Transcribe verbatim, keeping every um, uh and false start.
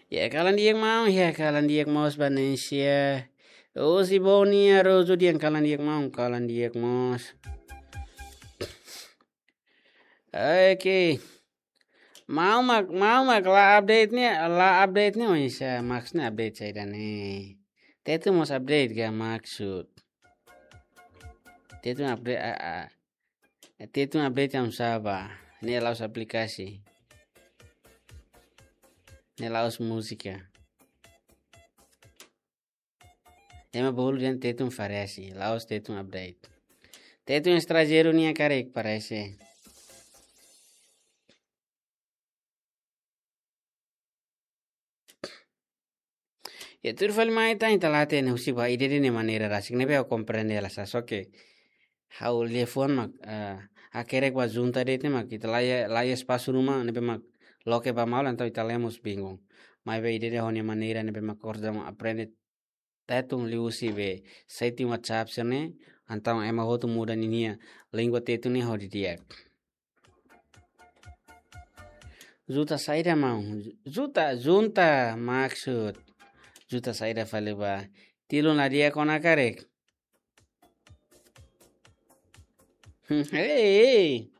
Ya, kalan di'ak maun, ya, kalan di'ak mós ba Nencia. Osi Boni, ya, Rojo, di'ak, kalan di'ak maun, kalan di'ak mós. Oke. Maun mak, maun mak la update ne'e, la update ne'e, oinsá, Max ne'e update saida ne'e. Tetun mós update ka maksud. Tetun update, a, a. Tetun update am saba. Ne'e la'ós aplikasi. Ne'e la'ós múzika. Ema bolu dehan Tetun parese, la'ós Tetun update. Tetun estranjeiru nian karik parese. Ya, tuir fali mai ita, ita la hatene husi ba ida-idak nia maneira rasik ne'ebé ha'u komprende la sa, só ke ha'u liafuan mak, eh, hakerek ba junta de'it ne'e mak ita la iha, la iha espasu ruma ne'ebé mak loke ba malu, entaun ita la iha mós bingung. Maibé ida-idak ho nia maneira ne'ebé mak orsida mak aprende Tetun liuhusi be setting WhatsApp sira-ne'e, entaun ema hotu muda ninia língua Tetun ne'e ho di'ak. Junta saida maun? Junta, junta maksud. Junta saida fali ba? Tilun la di'ak ona karik. Hei, hei.